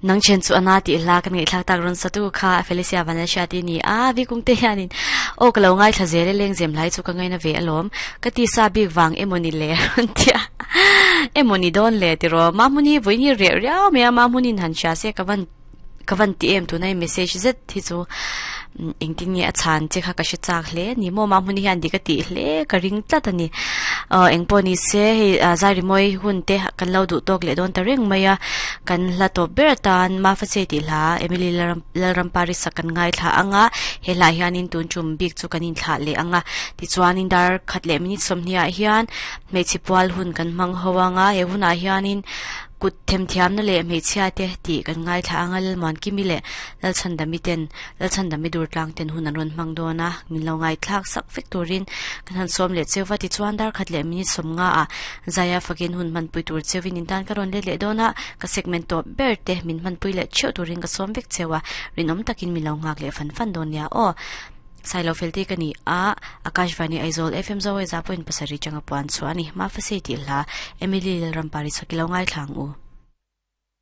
Nang chen chu ana tih hla kan ngaihthlak tak rawn satu kha Felicia Vanlalhriati ni a, Vikung te hianin aw ka lo ngaithla zel e lengzem hlai chu ka ngaina ve alawm ka ti sa bik vang emawni le rawn ti a emawni dawn le tiraw Mahmuni vawiin hi reh riau mai a Mahmunin han hria se ka van ka van ti em tunai message zet hi chu engtin nge a chhan che kha ka hre chak hle ni maw Mahmuni hian dik a tih hle ka ring tlat a ni aw engpawh ni se hei zai rimawi hun te kan lo duh tawk leh dawn ta reng mai a kan hla tawp ber atan Mafase tih hla Emily Lalrampari sak kan ngaithla ang a he hla hianin tun tum bik chu kan inthlah leh ang a tichuanin dar khat leh minute sawmhnih ah hian hmeichhe pual hun kan hmang ho ang a he hunah hianin Kut themthiamna leh hmeichhia te tih kan ngaithla ang a, Lalmuankimi leh Lalchhandami ten Lalchhandami Durtlang ten hun an rawn hmang dawn a, min lo ngaithlak sak vek turin kan han sawm leh cheu va tichuan dar khat leh minute sawmnga ah Zaia fakin hun hmanpui tur cheuin in tan ka rawn let leh dawn a, ka segment tawp ber te min hmanpui leh theuh turin ka sawm vek cheu a, rinawm takin min lo nghak leh fan fan dawn nia aw. Sailo Felti ka ni a, Akashvani Aizawl FM Zawai za point pasarih changa puan chhuah a ni. Mafasi tih hla Emily Lalrampari chhawk i lo ngaithla ang u.